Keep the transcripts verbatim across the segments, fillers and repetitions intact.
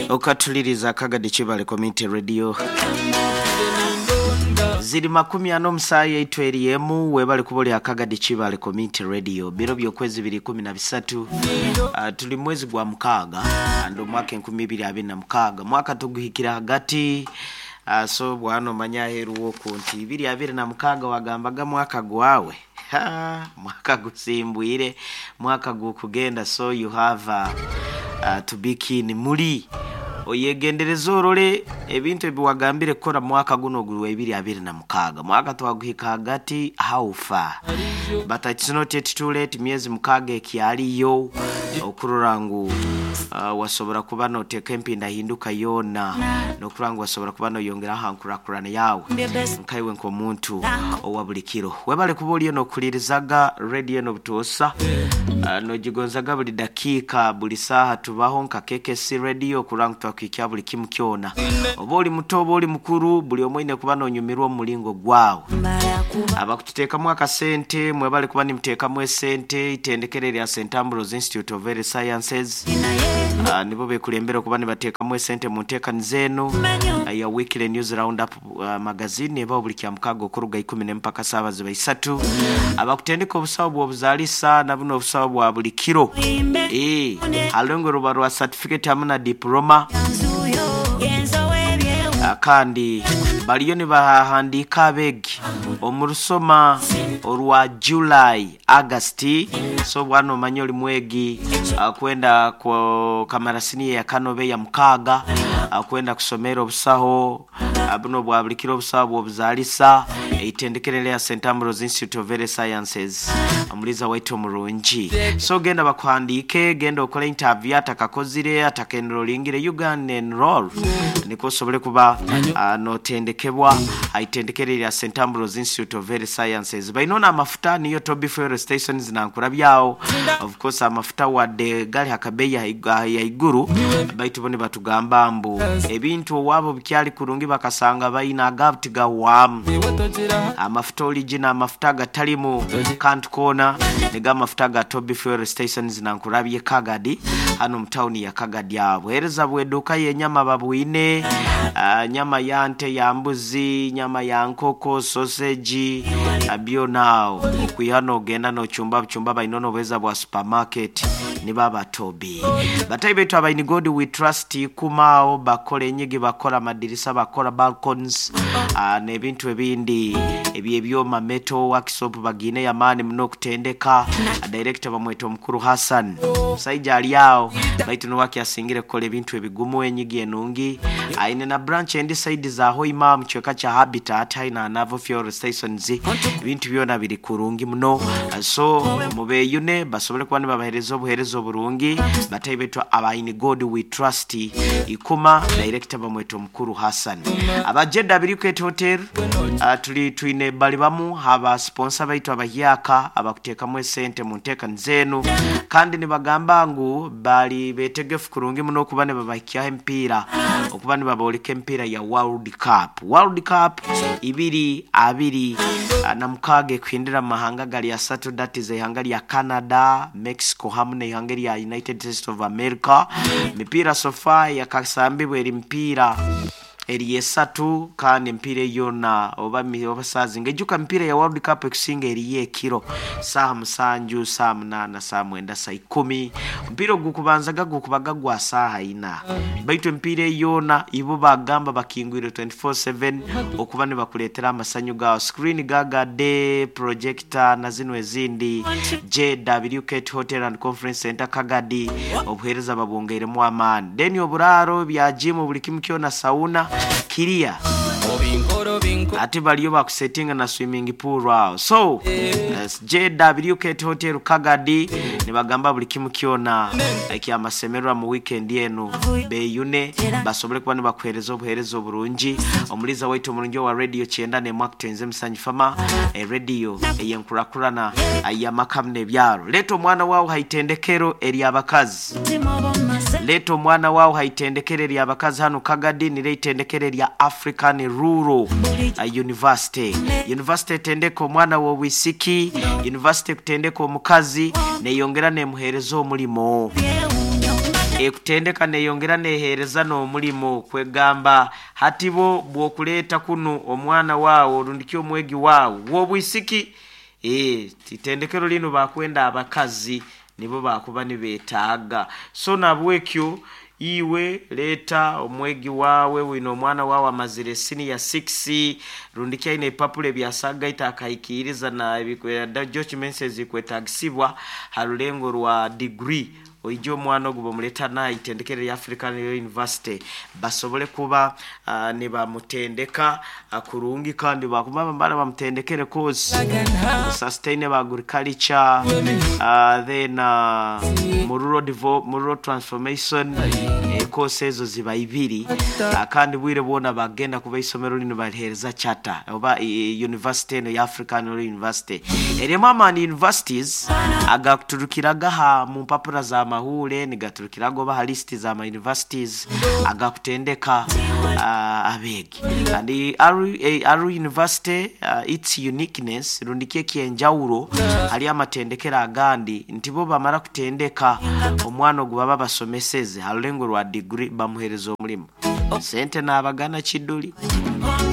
Okatuliriza Kagadi Kibale Community Radio. Ziri makumi ano omusaayi eitu eri emu. Webale kuba oli Akagadi Kibale Community Radio. Biro by'okwezi biri kumi na bisatu, uh, tuli mwezi gwa mukaaga and omwaka enkumi ibiri abiri na mukaaga, mwaka tuguhikira hagati. uh, so bwana omanya aheeru woku nti ibiri abiri na mukaaga wagambaga mwaka gwawe. Ha, mwaka gusimbwire, mwaka gukugenda. So you have uh, uh, to be keen, muli oyegendereza orole ebintu ebiwagambire kukora mwaka guno gwa ibiri abiri na mukaaga. Mwaka twaguhika hagati, how far? But it's not yet too late. Myezi mukaaga ekyaliyo okurora ngu uh, wasobora kuba noteeka empindahinduka yoona nokurora ngu wasobora kuba noyongera aha nkurakurana yawe nkaiwe nk'omuntu owa buli kiro. Webale kuba oliyo nokulirizaga radio nobutuusa, uh, nogigonzaga buli dakiika, buli saaha. Tubaho nka K K C Radio kurora ngu twakwikya buli kimu kyona. Oba oli muto oba oli mukuru, buli omwe oine kuba nonyumirwa omu mulingo gwawe. Abakututeekamu akasente, mwebale kuba nimuteekamu esente. Itendekero erya Saint Ambrose Institute of Health Sciences, uh, nibo bekulembera okuba nibateekamu esente mu nteekaniza eno uh, ya Weekly News Roundup uh, magazine ebaho buli kya mukaaga okuruga ikumi n'empaka saawa ziba isatu. Abakutendeka obusawo bw'obuzaalisa na buno obusawo bwa buli kiro, eh, halongo ruba rwa certificate hamu na diploma. Ah, kandi baliyo nibahandiika abeegi omu rusoma orwa July, August. So bwana omanye oli mwegi ah, kwenda ku kamara siniya ya kano oba eya mukaaga, ah, kwenda kusomera obusaho ah, buno bwa buli kiro, obusaho bw'obuzaalisa, eitendekero lya Saint Ambrose Institute of Health Sciences, omuliza waitu omurungi. So genda bakuhandiike, genda okole interview atakakozire atakenrolingire Uganda enroll niko osobole kuba uh, notendekebwa aitendekero lya Saint Ambrose Institute of Health Sciences. Bainona amafuta niyo Toby Fuel Stations nankurabyawo. Of course amafuta wadde gali hakabeeyi ya iguru, baitu bo nibatugamba mbu ebintu owaabo bikyali kurungi, bakasanga baina agabuti gawaamu amafuta original, amafuta agatalimu kantu koona, niga amafuta ga Toby Fuel Stations nankurabye Kagadi, hano mu tawuni ya Kagadi. Awo buheereza bw'edduuka y'enyama babwine, uh, nyama ya nte, ya mbuzi, nyama ya nkoko, sausage, uh, byona awo okwiha nogenda nochumba buchumba. Baina n'obuheereza bwa supermarket niba Toby. Batayi baitu aba In God We Trust kumaawo, bakola enyigi, bakola amadirisa, bakola balcons uh, n'ebintu ebindi ebyebyoma, metal workshop bagine yamaani muno okutendeka. Director bamweta omukuru Hassan, omusajja ali awo baitu niwaki asingire kukola ebintu ebigumu, enyigi enungi. Aine na branch endi side za Hoima mu kichweka kya Habitat haina Navo Fuel Stations. Ebintu byona biri kurungi muno. So mubeyune basobole kuba nibabahereza obuhereza oburungi. Batayi betu aba In God We Trust ikuma, director bamweta omukuru Hassan. Aba J W K Hotel, uh, tuli twine bali bamu aba sponsor baitu abahyaka abakuteekamu esente mu nteekaniza enu, kandi nibagamba ngu bali betegefu kurungi muno okuba nibabahikyaho empiira, okuba nibaboleka empiira ya World Cup, World Cup ibiri abiri ah, na mukaaga ekuhindira mu mahanga gali asatu, that is ihanga lya Canada, Mexico hamu n'ihanga lya United States of America. Mipiira so far yakasambibwa eri mipiira eri esatu, kandi empiira eyona oba mi- oba saazinga ejuka mipiira ya World Cup ekusinga eriyo ekiro saaha musanju, saaha munaana, saaha mwenda, saa ikumi. Omupiira ogukubanzaga gukubaga gwa saaha ina, baitu emipiira eyona ibo bagamba bakingwire twenty-four seven okuba nibakuleetera amasanyu gawe. Screen gagade, projector na zino ezindi. J W K Hotel and Conference Center Kagadi, obuheereza babwongeiremu amaani, then oburaaro bya gym, buli kimu kyona, sauna kiria ate baliyo bakusetinga na swimming pool awo. So uh, J W K Hotel Kagadi nibagamba buli kimu kyona ekyamasemererwa mu weekend eno. Beyune basobole kuba nibakuhereza obuhereza oburungi. Omuliza waitu omurungi owa radio kyenda nemwakutenze musanyu fama, e radio eyenkurakurana yamakamu n'ebyaro. Leeta omwana wawe haitendekero eryabakazi, leeta omwana wawe haitendekero eryabakazi hano Kagadi, nire itendekero erya African Rural uh, University. University etendeka omwana w'obwisiki, university ekutendeka omukazi neyongera nemuhereza omulimo. Ekutendeka neyongera nehereza n'omulimo kwegamba hati bo bw'okuleeta kunu omwana waawe orundiki omwegi waawe w'obwisiki. Eh, itendekero lino bakwenda abakazi nibo bakuba nibetaaga. So nabwekyo iwe leeta omwegi waawe wino omwana waawe amazire senior six rundiki aine ebipapula ebyasagaita akahikiriza na documents ezikwetagisibwa ha rulengo rwa degree, oije omwana ogu bamuleta na itendekero lya African University basobole kuba uh, nibamutendeka uh, kurungi kandi bakuba bambara bamutendekere course sustainable agriculture, uh, then uh, rural development, rural transformation, eh, course ezo ziba ibiri, uh, kandi bwire bwona bagenda kuba isomero lino balihereza charter oba e, university eno ya African University erimu amani universities agakuturukiraga ha mu mpapura za mahure nigaturukiraga oba ha list za ma universities agakutendeka uh, abegi. And Aru, eh, Aru University, uh, its uniqueness rundikie kyenjawulo hali amatendekero agandi nti bo bamara kutendeka omwana ogu baba basomeseze ha rulengo rwa degree bamuhereza omulimu. Sente n'abagana kiduli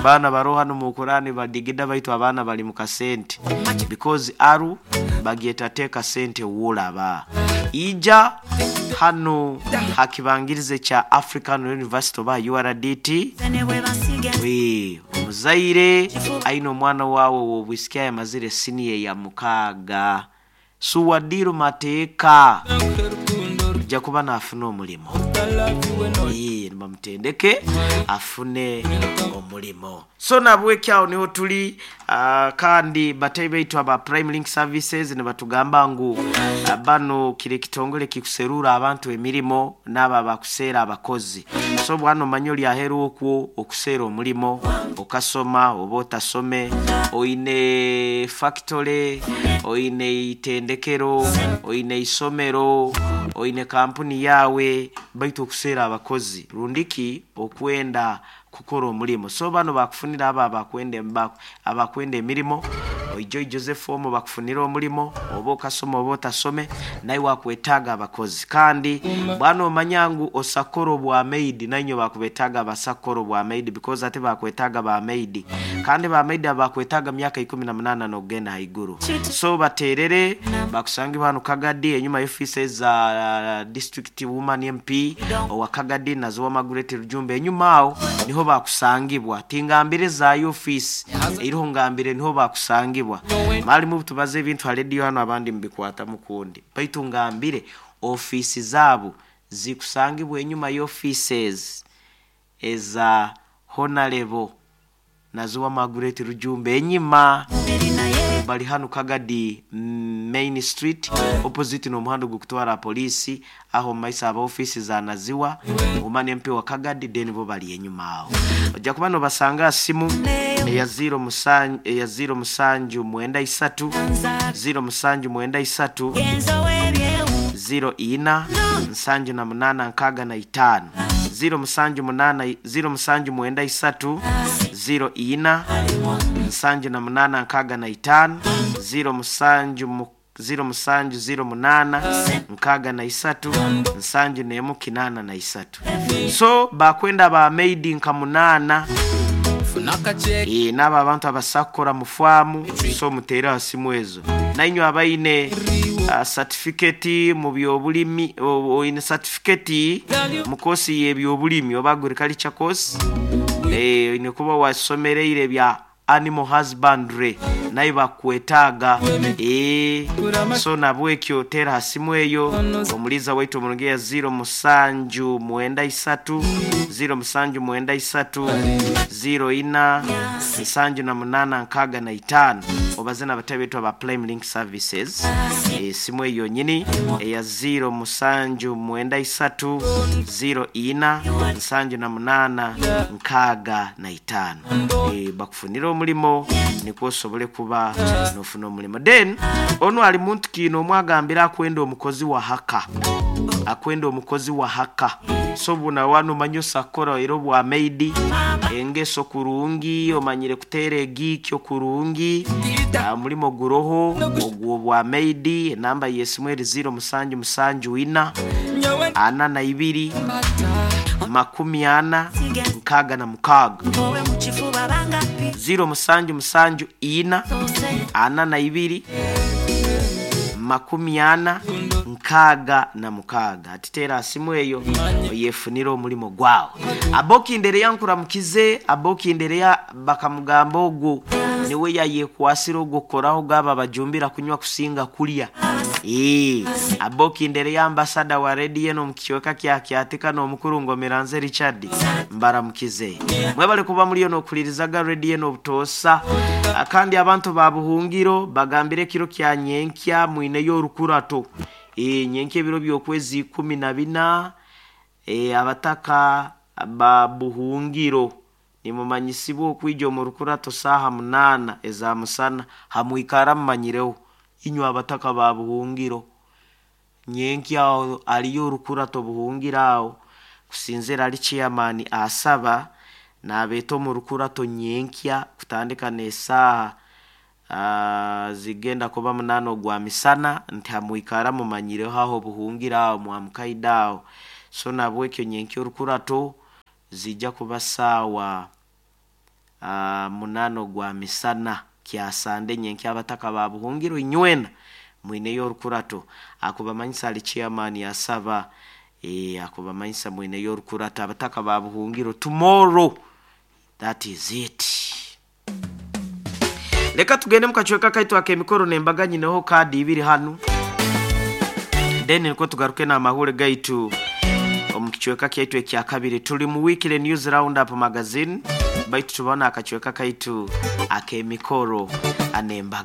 baana baroha hano mu Kurani badigida baitu abaana bali mu kasente because Aru bagyeta teka sente wolaba ija hano hakibangirize cha African University oba U R D T. We omuzaire aine omwana wawe w'obwisiki ayamazire senior ya mukaaga suwadiru mateeka ajja kuba n'afuna omulimo. Ee, bamutendeke afune omulimo. So nabwekyawo niho tuli, uh, kandi batayi baitu aba Prime Link Services ne batugamba ngu uh, bano kire kitongole kikuserura abantu emirimo n'aba bakuseera abakozi. So bwana omanyi oli aheru okwo okuseera omulimo okasoma oba otasome oine factory oine itendekero oine isomero oine kampuni yawe baitu okuseera abakozi rundiki okwenda kukora omulimo. So bano bakufunira aba abakwenda abakwenda emirimo oijo Joseph omo bakufunira omulimo oba okasoma oba otasome naye wakwetaaga abakozi. Kandi bwana omanya ngu osakoro bwa maid nanyo bakubetaaga abasakoro bwa maid because ate bakwetaaga ba maid kandi ba maid abakwetaaga myaka ikumi na munana n'okugenda haiguru. So baterere bakusange bano Kagadi enyuma y'office za uh, district woman M P owa Kagadi nazo Margaret Rujumbe enyuma awo niho bakusangibwa tingambire za office iriho ngambire niho bakusangibwa mali mu tubaze ebintu ha radio hano abandi mbikwata mukundi baitu ngambire office zabo zikusangibwa enyuma y'offices eza honorable nazo Margaret Rujumbe enyuma bali hano Kagadi main street opposite no muhando gukutwara polisi aho maisa aba office za Naziwa umane M P wa Kagadi then bo bali enyuma aho ojja kuba no basanga simu eya zero musanju eya zero musanju mwenda isatu zero musanju mwenda isatu zero ina nsanju na munana nkaga na itano zero musanju munana zero musanju mwenda isatu zero ina nsanju na munana nkaga na itano zero musanju mu zero musanju zero munana nkaga na isatu nsanju nemu kinana na isatu. So bakwenda ba maid nka munana e, n'aba abantu abasakora mu so mutera simu ezo nainywe abaine uh, certificate mu byobulimi oine certificate mu kosi y'ebyobulimi oba agriculture course eh ine kuba wasomereire bya animal husbandry naye bakwetaaga eh so nabwekyo tera hasimu eyo omuliza waitu omulungi zero musanju mwenda isatu zero musanju mwenda isatu zero ina nsanju na munana nkaga na itano obazena abatabe aba Prime Link Services e, simu eyo nyini eya zero musanju mwenda isatu zero ina nsanju na munana nkaga na itano e, bakufunira omulimo nikwo osobole kuba nofuna omulimo. Then ono ali muntu kino omwagambira akwenda omukozi wa haka akwenda omukozi wa haka so buna wano manyo sakora era bwa maid engeso kurungi omanyire kuteera egikyo kurungi mulimo guroho ogwo bwa maid enamba yesimu eri zero musanju musanju ina ana na ibiri makumi ana nkaaga na mukaaga ziro musanju musanju ina ana na ibiri makumi ana nkaaga na mukaaga. Atiteera asimu eyo oyefunire omulimo gwawe. Abokindereya nkuramukize, abokindereya bakamugamba ogwo niwe yayekwasira ogwo kukoraho gaba bajumbira kunywa kusinga kulya. Ee, abokindereya ambasada wa rediyo eno omu kicweka kya Kyatika n'omukuru Ngomeranze Richard, mbaramukize. Mwebale kuba muliyo n'okulirizaga rediyo eno obutoosa. Kandi abantu ba Buhungiro bagambire ekiro kya nyenkya mwineyo orukurato. Ee, nyenkya ebiro by'okwezi ikumi na bina, e, abataka ba Buhungiro nimumanyisibwa okwija omu rukurato saaha munaana eza musana. Hamwikara mumanyireho inywe abataka ba Buhungiro, nyenkya aho aliyo orukurato Buhungiro aho kusinzira ali chairman asaba nabeeta omu rukurato nyenkya kutandika n'esaaha uh, zigenda kuba munaana ogwa misana, nti hamwikara mumanyireho aho Buhungiro aho mwamukaida aho. So nabwekyo nyenkya orukurato zijja kuba saawa uh, munaana ogwa misana kyasande nyenkya. Abataka ba Buhungiro inywena mwineyo orukurato, akubamanyisa ali chairman yasaba, e, akubamanyisa mwineyo orukurato abataka ba Buhungiro tomorrow. That is it. Leka tugende mukacweka kaitu ak'emikoro nembaga nyineho kadi ibiri hanu, then niko tugaruke n'amahule gaitu omu kicweka kyaitu ekya kabiri. Tuli mu weekly news round up magazine, baitu tubona akacweka kaitu ak'emikoro anembaga.